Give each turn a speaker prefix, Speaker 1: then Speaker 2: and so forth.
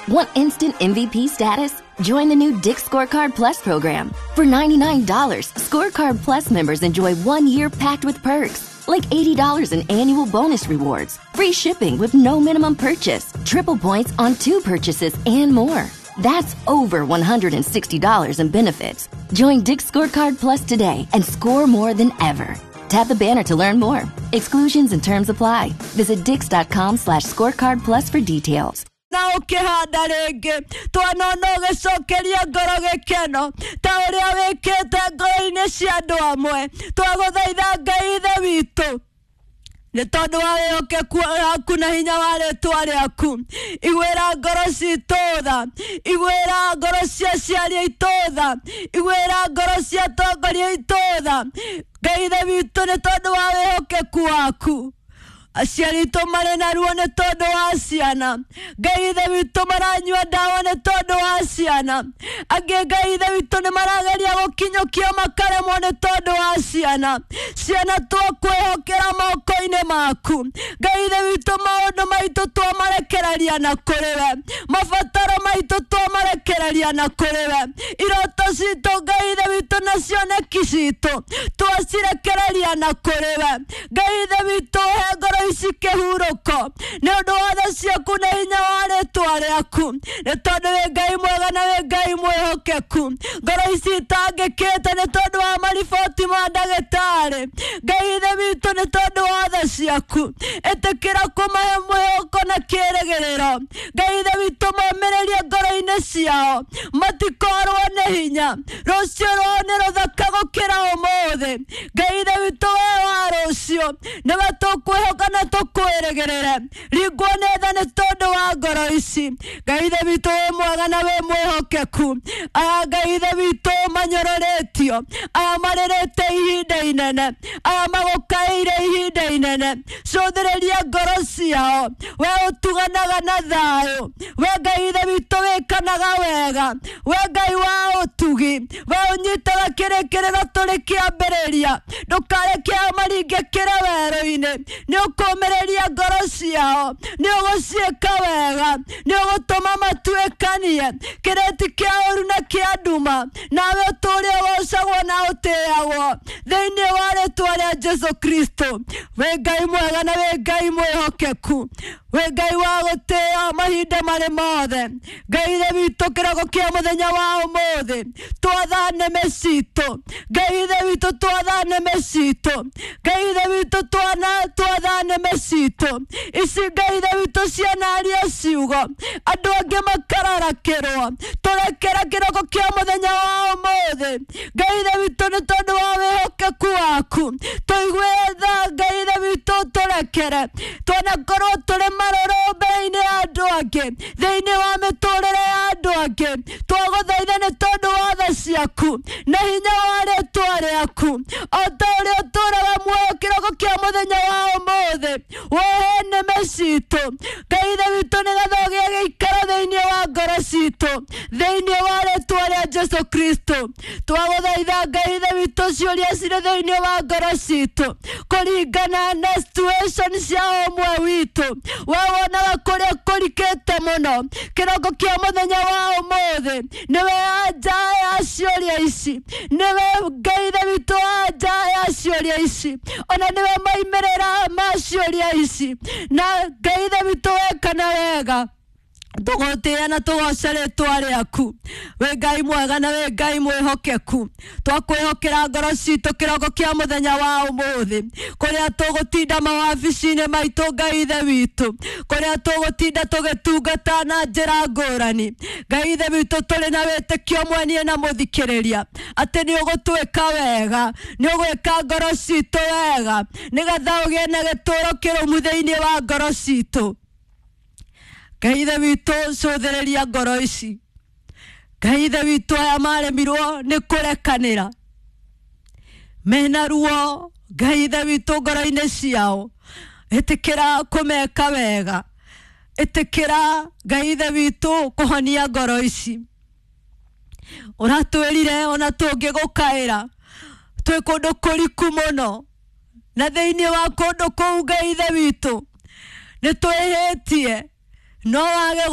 Speaker 1: Want instant MVP status? Join the new Dick's Scorecard Plus program. For $99, Scorecard Plus members enjoy 1 year packed with perks, like $80 in annual bonus rewards, free shipping with no minimum purchase, triple points on two purchases, and more. That's over $160 in benefits. Join Dick's Scorecard Plus today and score more than ever. Tap the banner to learn more. Exclusions and terms apply. Visit dicks.com/scorecard plus for details.
Speaker 2: Na ũkĩhanda rĩngĩ twanona ũgĩcokeria ngoro gĩkeno ta ũrĩa wĩkĩte ngoro-inĩ cia andũ amwe. Twagũthaitha, Ngai Ithe witũ, nĩ tondũ wa wĩhokeku waku na hinya wa rĩtwa rĩaku, iguĩra ngoro citũ tha, iguĩra ngoro cia aciari aitũ tha, iguĩra ngoro cia atongoria aitũ tha. Ngai Ithe witũ, nĩ tondũ wa wĩhokeku waku, aciari aitũ marĩ na ruo nĩ tondũ wa ciana. Ngai Ithe witũ, maranyua ndawa nĩ tondũ wa ciana. Angĩ, Ngai Ithe witũ, nĩ marageria gũkinyũkia makaremwo nĩ tondũ wa ciana. Ciana twakwĩhokera moko-inĩ maku. Ngai Ithe witũ, maũndũ maitũ twamarekereria na kũrĩ we, mabataro maitũ twamarekereria na kũrĩ we, iroto citũ, Ngai Ithe witũ, na cioneki citũ twacirekereria na kũrĩ we. Ngai Ithe witũ, he ngoro ici kĩhurũko nĩ ũndũ wa tha ciaku na hinya wa rĩtwa rĩaku, nĩ tondũ wĩ Ngai mwega na wĩ Ngai mwĩhokeku. Ngoro ici itangĩkĩte nĩ tondũ wa mariboti ma ndagĩtarĩ, Ngai Ithe witũ, nĩ tondũ wa tha ciaku, ĩtĩkĩra kũmahe mwĩhoko na kĩĩrĩgĩrĩro. Ngai Ithe witũ, momĩrĩrie ngoro-inĩ ciao, matikorwo nĩ hinya. Rũciũ rwao nĩ rũthaka gũkĩra ũmũthĩ. Ngai Ithe witũ, we wa rũciũ nĩwe tũkwĩhoka na tũkwĩrĩgĩrĩre. Ringwo nĩ tha nĩ tondũ wa ngoro ici. Ngai Ithe witũ, wĩ mwega na wĩ mwĩhokeku. Aya, Ngai Ithe witũ, manyororĩtio, aya marĩrĩte ihinda inene, aya magũkaĩire ihinda inene, cũthĩrĩria ngoro ciao. We ũtuganaga na thayũ, we Ngai Ithe witũ wĩkanaga wega, we Ngai wa ũtugi, we ũnyitaga kĩrĩkĩrĩro tũrĩ kĩambĩrĩria, ndũkareke ao maringĩkĩre werũ-inĩ. Nĩ ũkũmĩrĩria ngoro ciao, nĩ ũgũciĩka wega, nĩ ũgũtũma matuĩkanie kĩrĩti kĩa ũru na kĩa nduma, nawe ũtũũre ũgocagwo na ũtĩagwo thĩinĩ wa rĩtwa rĩa Jesu Kristo. Wĩ Ngai mwega na wĩ Ngai mwĩhokeku, wĩ Ngai wa gũtĩo mahinda marĩ mothe. Ngai Ithe witũ, kĩroko kĩa mũthenya wa ũmũthĩ twatha nĩmĩ citũ. Ngai Ithe witũ, twatha nĩmĩ citũ. Ngai Ithe witũ, twana twatha nĩmĩ citũ ici. Ngai Ithe witũ, cianaria ciugo andũ angĩ makararakĩrwo. Tũrekera kĩroko kĩa mũthenya wa ũmũthĩ. Ngai Ithe witũ, nĩ tondũ wa wĩhokeku waku, tũigue tha. Ngai Ithe witũ, tũrekere twanakorwo tũrĩ marũrũ mbere-inĩ ya andũ angĩ, thĩinĩ wa mĩtũrĩre ya andũ angĩ. Twagũthaitha nĩ tondũ wa tha ciaku na hinya wa rĩtwa rĩaku, o ta ũrĩa ũtũraga muoyo kĩroko kĩa mũthenya wa ũmũthĩ, wohe nĩmĩ citũ, Ngai Ithe witũ, nĩgetha ũgĩe gĩikaro thĩinĩ wa ngoro citũ, thĩinĩ wa rĩtwa rĩa Jesu Kristo. Twagũthaitha, Ngai Ithe witũ, ciũria cirĩ thĩinĩ wa ngoro citũ kũringana na situation cia ũmwe witũ, we wonaga kũrĩa kũrikĩte mũno. Kĩroko kĩa mũthenya wa ũmũthĩ nĩwe anja ya ciũria ici, nĩwe, Ngai Ithe witũ, anja ya ciũria ici, ona nĩwe maimĩrĩra ma ciũria ici. Na Ngai Ithe witũ, wekana wega, tũgũtĩĩa na tũgoce rĩtwa rĩaku. Wĩ Ngai mwega na wĩ Ngai mwĩhokeku. Twakwĩhokera ngoro citũ kĩroko kĩa mũthenya wa ũmũthĩ, kũrĩa tũgũtinda mawabici-inĩ maitũ, Ngai Ithe witũ, kũrĩa tũgũtinda tũgĩtungata na njĩra ngũrani. Ngai Ithe witũ, tũrĩ na wĩtĩkio mwenie na mũthikĩrĩria atĩ nĩ ũgũtwĩka wega, nĩ ũgwĩka ngoro citũ wega, nĩgetha ũgĩe na gĩtũũro kĩrũmu thĩinĩ wa ngoro citũ. Ngai Ithe witũ, cũthĩrĩria ngoro ici. Ngai Ithe witũ, aya maremirwo nĩ kũrekanĩra mena ruo, Ngai Ithe witũ, ngoro-inĩ ciao, ĩtĩkĩra kũmeka wega. Ĩtĩkĩra, Ngai Ithe witũ, kũhonia ngoro ici. Ũratwĩrire ona tũngĩgũkaĩra twĩ kũndũ kũriku mũno na thĩinĩ wa kũndũ kũu, Ngai Ithe witũ, nĩ twĩhĩtie, no wage.